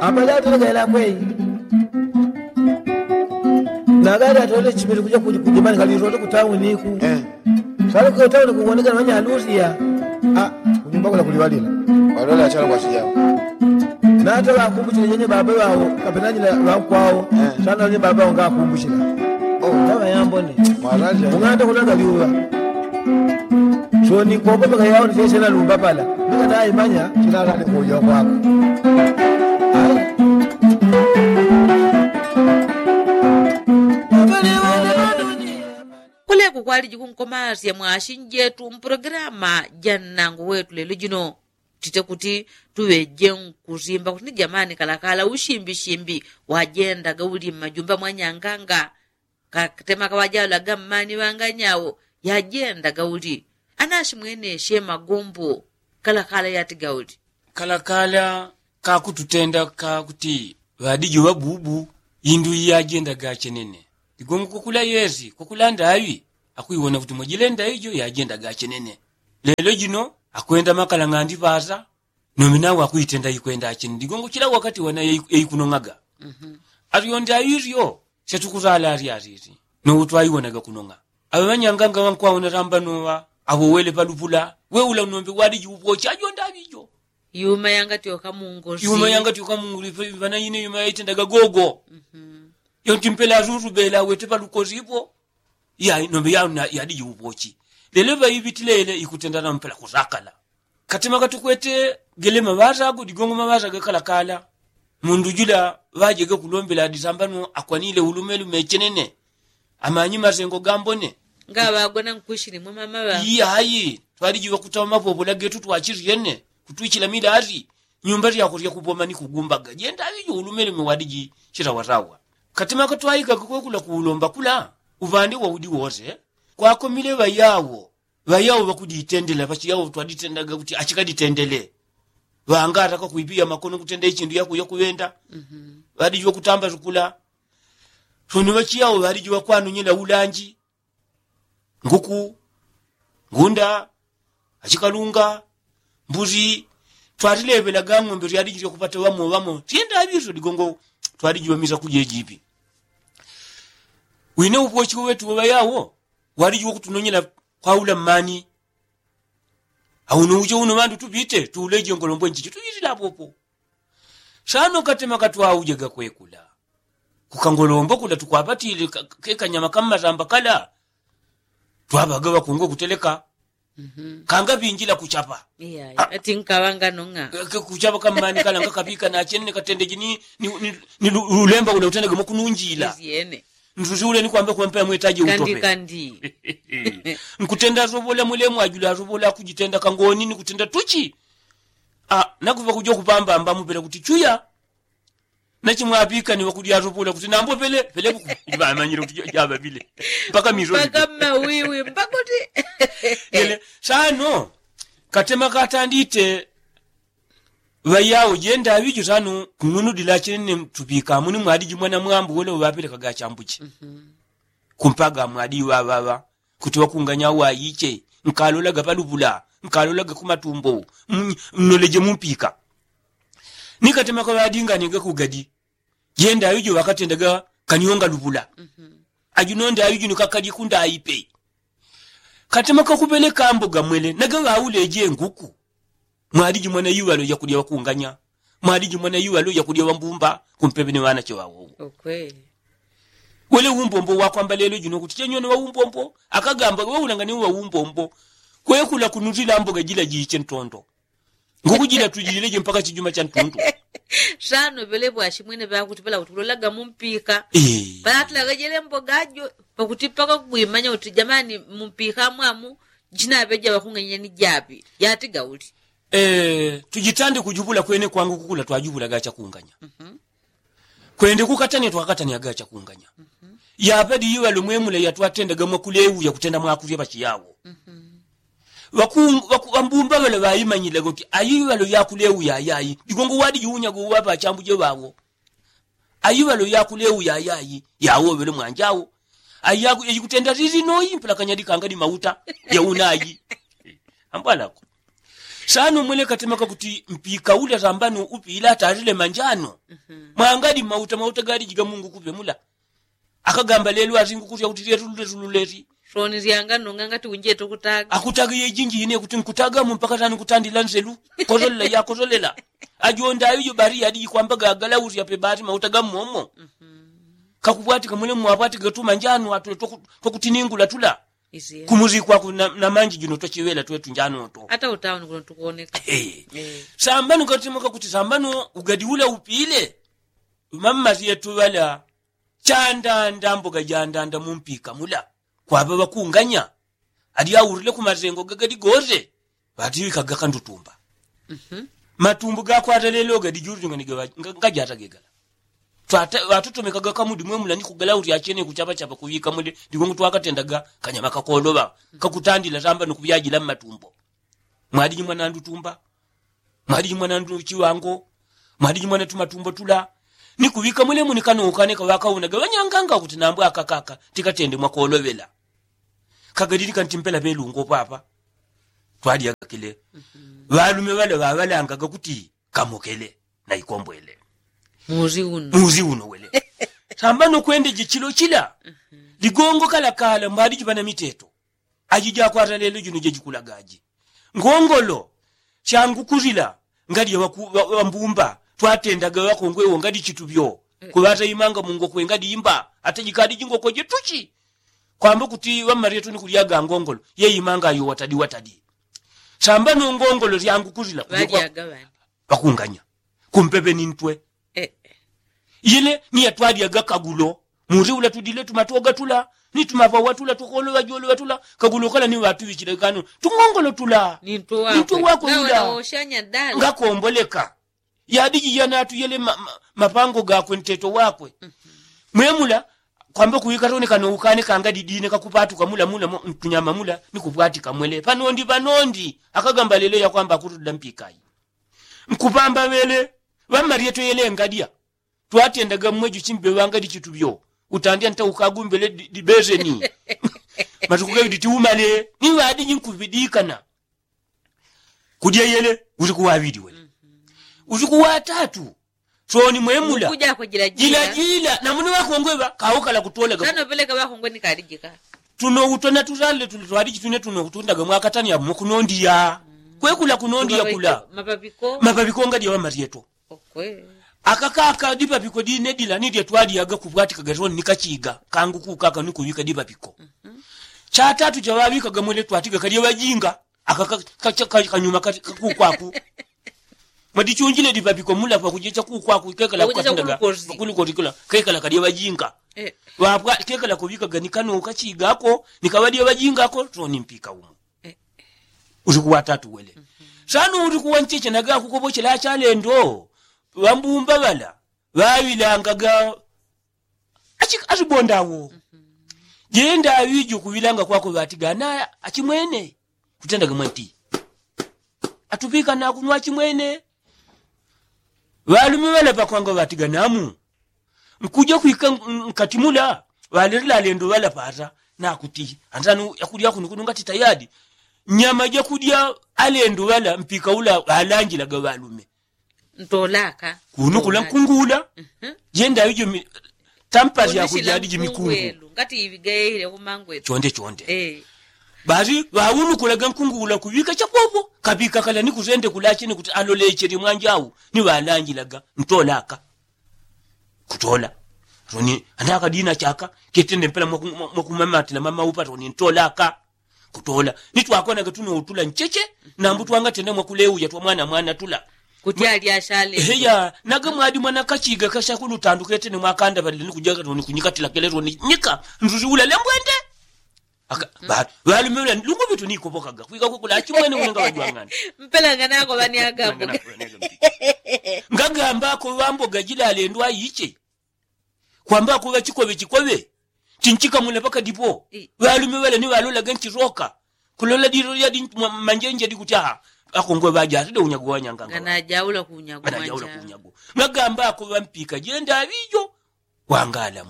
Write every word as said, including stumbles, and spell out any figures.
Apali atole gaila kwei. Nagali atole chimili kuja kujimani kali rote kutauni ku. Sali kutauni kuwoneka na wanyalusia. Ah, kunyumba kula kuliwalila. Walola achalo kwa chijao. Nata wakumbuchile yenye baba wao kapenanyila wakwao. Sana wenye baba wao ngakumbuchila. Oh, nawa yambone. Mwaraja. Unganda kulaga liuwa. Soni kopa paka yao ni sese na lumba pala. Nika naimanya chilala ni kuja kwako. Ai. Kuleku kwaliji kunkomasya mwashi njetu mpulogalamu ja nnangu wetu lelo jino. Tite kuti tuŵeje nkusimba kuti ni jamani kalakala usimbishimbi wajendaga uli mmajumba mwanyanganga. Katema kaŵajalaga mmani ŵanganyawo yajendaga uli. Anashi mweneshe magombo kalakala yatiga uli. Kalakala kakututenda kakuti ŵadiji ŵabubu indu iyajendaga chenene. Ligongo kwakula yesi kwakula ndaŵi akwiwona kuti mwajilenda ijo yajendaga chenene. Lelo jino akwenda makala ng'andi ŵasa. Nomi nawe akwitenda ikwenda achini ligongo chila wakati wana yaikunong'aga. Alyo ndaŵi lyo. Setukusala ali alili nowo twaiwonaga kunong'a. Aŵe ŵanyanganga ŵankwawona lamba noŵa awo wele palupula. Weula nombe wadiji upochi ajo ndaŵi jo. Yuma yangatyoka mungoli yuma yangatyoka mungoli. Ŵana ine yuma yaitendaga gogo. Yonti mpela azuzu bela wete palukosi ipo. Iya nombe yadiji upochi. Lelo ŵaiŵitilele ikutenda nampela kusakala. Katema katukwete gele maŵaza ago digongo maŵaza gakalakala. Mundu jula ŵajege kulombela disambano akwanile ulumelume chenene. Amanyi masengo gambone. Ngaŵagona nkwishili mwe mama ŵa iya ayi. Twaliji ŵakutaŵa mapopola getu twachisyene kutwichila milali. Nyumba lyako lyakupoma ni kugumbaga jenda aŵijo ulumelume wadiji chitawasawa. Katema katwaika kakwekula kuulomba kula uŵande waudi wose. Kwakomile ŵayawo ŵayawo ŵakuditendela ŵachiyawo twaditendaga kuti achikaditendele. Ŵangata kakwipiya makono kutenda ichindu yakuya kuŵenda. Ŵadiji ŵakutamba sukula. Soni ŵachiyawo ŵadiji ŵakwanonyela ulanji. Nguku, ngunda, achikalunga, mbuzi. Twatileŵelaga ng'ombe tyadiji tyakupata ŵamo ŵamo tyenda aŵiso digongo. Twaliji ŵamisa kujejipi. Wine upochi wetu ŵaŵayawo waliji ŵakutunonyela kwaula mmani. Auno ujo uno ŵandu tupite tuuleje ngolombo njijo tujitila apopo. Sano katema katwaujega kwekula kukangolombo kula tukwapatile kekanyama kammasamba kala. Twaŵaga ŵakungwe kuteleka. Kanga ŵinjila kuchapa. Ati nkaŵanga nong'a. Kuchapa kammani kala ngakapika nachene katende jini. Ni lulemba ula utendege mwakununjila. Nsusi ule nikwambe kwampe amwetaje utope. Nkutenda asovola mwilemu ajula asovola kujitenda kangoni nikutenda tuchi. Nakuva kujo kupambamba mupela kuti chuya. Nachimwapika niwakudi asovola kuti nambo pele pele buku. Ŵamanyile kuti jaŵa pile mpaka miso mpaka mmawiwi mpaka kuti. Sano katema katandite. Ŵayawo jenda aŵijo sano kung'unudila chinene tupika amuni mwadi jimwana mwambu wele uŵapelekaga achambuche. Kumpaga mwadi ŵaŵaŵa kuti ŵakunganya wayiche. Nkalolaga palupula nkalolaga kumatumbo. Mnoleje mumpika. Nikatema kaŵadinganiga kugadi jenda aŵijo ŵakatendaga kanyonga lupula. Ajunonde aŵijo nikakadi kundaipe. Katema kakupeleka amboga mwele naga ŵauleje nguku. Mwaliji mwana iŵalo yakulya ŵakunganya. Mwaliji mwana iŵalo yakulya ŵambumba kumpepe ni ŵanache ŵawowo. Wele umbombo wakwamba lelo jino kuti chenyone ŵaumbombo akagamba weulangane uŵaumbombo. Kwekula kunutila amboga jila jiche ntondo. Nguku jila tujileje mpaka chijuma cha ntundu. Sano ŵele ŵashimwene ŵakuti ŵala kuti ulolaga mumpika. Palatulaga jele mboga jo pakuti mpaka kugwimanya kuti jamani mumpika mwamu. Jinaŵeja ŵakunganya ni japi yatiga uli. Tujitande kujupula kwene kwangu kukula twajupulaga chakunganya. Kwende kukatanya twakatanyaga chakunganya. Yapadi iŵalo mwemula yatwatendaga mwakuleuya kutenda mwakulya ŵachiyawo. Ŵambumba ŵala ŵaimanyilaga kuti ayiŵalo yakuleuya ayayi digongo wadi jiunyaga uŵapa achambuje ŵawo. Ayiŵalo yakuleuya ayayi yawo ŵele mwanjawo. Ayikutenda lili noyi mpela kanyadi kanga ni mauta. Yaunayi ambwalako. Sano mwele katemaka kuti mpika ule sambano upila atalile manjano. Mwangadi mauta mauta gali jiga mungu kupe mula. Akagamba lelo azingu kuti autiletuletuletuletu. Soni zyanga nonga ngati unjeto kutaga akutaga yejinji ine kuti nkutaga mu mpaka sani kutandila nzelu. Kozolela ya kozolela. Ajonda ayo bari yadi kwamba gagala uzi ape bari mauta gamomo. Kakubwatika mule mwabwatika tuma njano atule tokutiningula tula. Kumuzi kwaku na manji juno tochiwela twetu njano to ata utauni kuno tukuoneka. Sambano katimaka kuti sambano ugadi ula upile. Mamazi yetu wala chandanda mboga jandanda mumpika mula. Kwaba bakunganya adi aurile kumazengo gagadi goze. Bati wikaga kandutumba. Matumbu gakwata lelo gadi juri ngani gawa ngajata gegala. Twata watutomekaga kamudi mwemula ni kugala uri achene kuchapachapa kuwika mule. Ndigongo twakatendaga kanyama kakoloba kakutandila samba nukuyajila mmatumbo. Mwadiji mwanandu tumba, mwadiji mwanandu chiwango, mwadiji mwana tumatumbo tula. Ni kuwika mule muni kano ukaneka wakaunaga wanyanganga kuti nambwa akakaka tikatende mwakolobela. Kagadili kantimpela pelungo papa. Twali agakile. Walume wale wawalangaga kuti kamokele na ikombwele. Muzi uno muzi uno wele. Samba nokwende jichilo chila. Ligongo kalakala mbadi jipana miteto. Aji jakwata lelo jino jejikulaga aji ngongolo. Shangukulila ngali wambumba twatendaga wakongwewo ngali chituvyo. Kuwata imanga mungokwe ngali imba ata jikadi jingokwe jetuchi. Kwamba kuti wamarietu ni kulyaga ngongolo ye imanga ayo watadi watadi. Samba nongongolo lyangukulila. Pakunganya kumpepe ni ntwe. Ile ni yatwalyaga kagulo. Muri ula tudile tumatoga tula ni tumavawa tula tukolowa jolowa tula. Kagulo kala ni watuwichile kano tungongolo tula ni ntwe wakwe ula. Ngakomboleka yadiji yanatuyele mapango gakwe nteto wakwe. Mwemula kwamba kuwika tone kano ukane kanga didine kakupatuka mula mula mtunyama mula ni kupwatika mwele panondi panondi. Akagamba lelo yakwamba akutudila mpikayi. Nkupamba wele wamarieto yele ngadya. Twatendaga mmweju chimbe wangadi chituvyo. Utandya nta ukagumbele dibezeni. Matukuge ditiumale ni wadiji nkupidikana. Kudya yele usiku wawili wele usiku watatu. Soni mwemula jilajila namuni wakongwe ŵa kaukala kutolaga. Tuno utona tusalile tuli twaliji tune tuno utundaga mwakatani ya mwakunondiya. Kwekula kunondiya kula. Mapapikonga dya wamarieto. Akakaka dipapiko dine dila ni dya twalyaga kupwatikaga soni ni kachiga kangu kukaka ni kuŵika dipapiko. Chatatu chaŵaŵikaga mwele twatiga kalya ŵajinga. Aka kanyuma kakukwaku. Madichunjile dipapiko mula pakujecha kukwaku kekala kukatindaga. Pakulikoti kula kekala kalya ŵajinga. Ŵapwa kekala kuŵikaga ni kano kachigako ni kaŵadya ŵajingako soni mpika umo. Usiku watatu wele. Sano usiku wancheche naga kukobochela achalendo ŵambumba ŵala ŵaŵilangaga. Asibondawo jenda aŵijo kuŵilanga kwako ŵatigana achimwene. Kutendaga mwanti atuŵikana kuno achimwene. Ŵalume ŵala pakwanga ŵatiganamu nkuja kwika nkati mula. Ŵalelila alendo ŵala pata nakuti antanu yakulya kunu kunu ngati tayadi. Nyama jakudya alendo ŵala mpika ula ŵalanjilaga ŵalume. Ntolaka kunu kula nkungula. Jenda aŵijo tampasi yakujadiji mikungu. Ngati iŵigaile kumangwetu chonde chonde. Basi ŵaunukulaga nkungula kuŵika chapopo kaŵika kala ni kusende kulache ni kuti alolechele mwanjau ni ŵalanjilaga. Ntolaka kutola soni anakadina chaka ketende mpela mwakumamatila mama upa soni ntolaka. Kutola ni twakonaga tuno utula ncheche nambu twangatenda mwakuleuya twa mwana mwana tula. Kuti ali ashale heya naga mwadi mwana kachiga kasha kunu tandu ketene mwakanda ŵalile ni kujaga soni kunyikatila kele soni nyika nzuzi ulale mbwende. Aka batu ŵalume ŵalile lungu ŵitu nikopokaga kwika kukula achimwene unenga ŵajwang'ana. Mpelangana ako ŵani agambo ngagamba ako ŵamboga jila alendo aiche. Kwamba ako ŵachikoŵe chikoŵe chinchikamula pakadipo. Ŵalume ŵala ni ŵalolaga nchiroka kulola dilo lyadi manjenje dikuti aha. Ako ngwe ŵajatide unyago wanyanganga anajaula kunyago. Ngagamba ako ŵampika jenda aŵijo. Wangala.